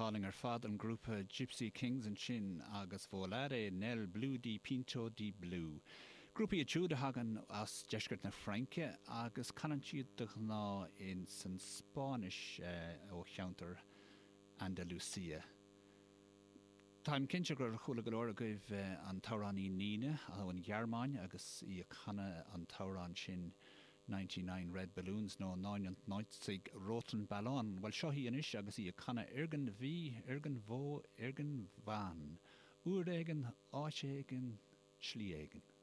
hálainn ar fad, an grúpa Gipsy Kings ansin agus Volare nel blu dipinto di blu. Grúpa iad siúd a thagann as deisceart na Fraince agus canann siad de ghnáth ins an Spáinnis ó cheantar Andalusia. Táim cinnte gur chuala go leor agaibh an t-amhránaí Nena ón Ghearmáin agus í ag canadh an t-amhrán sin 99 Red Balloons nó Neunundneunzig Roten Ballon. Bhuel, seo í anois agus í ag canadh Irgendwie, Irgendwo, Irgendwann. Uair éigin, áit éigin, slí éigin.